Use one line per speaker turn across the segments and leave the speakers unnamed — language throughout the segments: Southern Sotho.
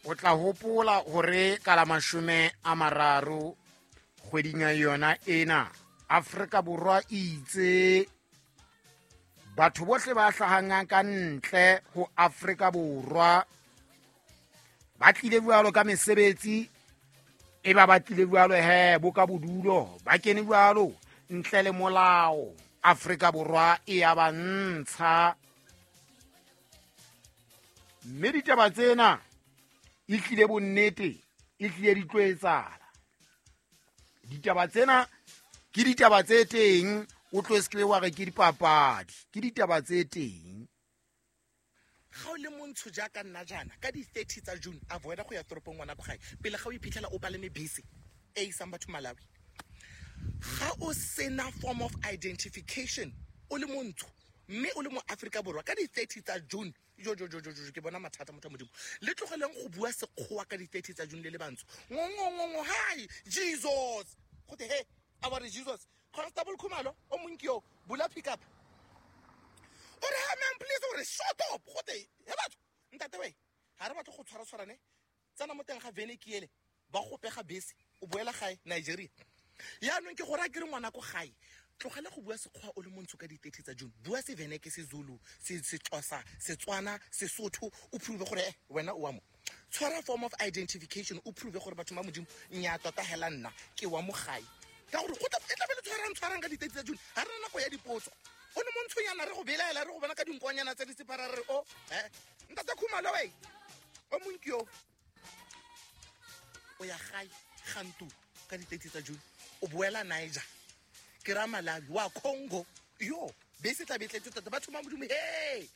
O tla hopola hore ka la 30 kgweding ya yona ena, Afrika Borwa e itse batho bohle ba hlahang ka ntle ho Afrika Borwa ba tlile jwalo ka mesebetsi, e ba ba tlile jwalo he bo ka bodulo, ba kene jwalo ntle le molao. Afrika Borwa e ya ba ntsha. Mme ditaba tsena e tlile bonnete, e tlile di tlo etsahala. Ditaba tsena ke ditaba tse teng, o tlo se ke wa re ke dipapadi, ke ditaba tse teng.
Ga o le montsho jaaka nna jaana, ka di-30 tsa June avoida go ya toropong ngwana ko gae pele ga o iphitlhela o palame bese e isang batho Malawi. Ga o sena form of identification o le montsho mme o le mo Aforika Borwa ka di-30 tsa June, jo jo jo jo jo, ke bona mathata. Motho wa Modimo, le tlogeleng go bua Sekgowa ka di-30 tsa June le le bantsho. Ngongongongo, hi Jesus, gote he a re Jesus. Constable Khumalo o monki yo bula pick up, o re ha man please, o re shut up. Gote he batho ntate we ga re batle go tshwara tshwarane, tsena mo teng ga vene ke ele ba go pega bese o boela gae Nigeria. Yaanong ke gore a kere ngwana ko gae, tlogela go bua Sekgowa o le montsho ka di-30 tsa June. Bua Seveneke, Sezulu, Sexhosa, Setswana, Sesotho, o prove gore wena o wa mo. Tshwara form of identification, o prove gore batho ba Modimo nya tota hela nna ke wa mo gae, ka gore go e tlabe le tshwarang tshwarang ka di-30 tsa June. Ga re na nako ya dipotso. O ne montshonyana re go belaela, re go bona ka dinkonyana tse di separa, re o ntate Khumalo we o monkio o ya gae gantu ka di-30 tsa June, o boela Niger, ke ra Malawi wa Congo, yo bese tla be tletse tota. Batho ba Modimo, he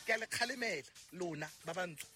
ke a le kgalemela lona ba bantsho.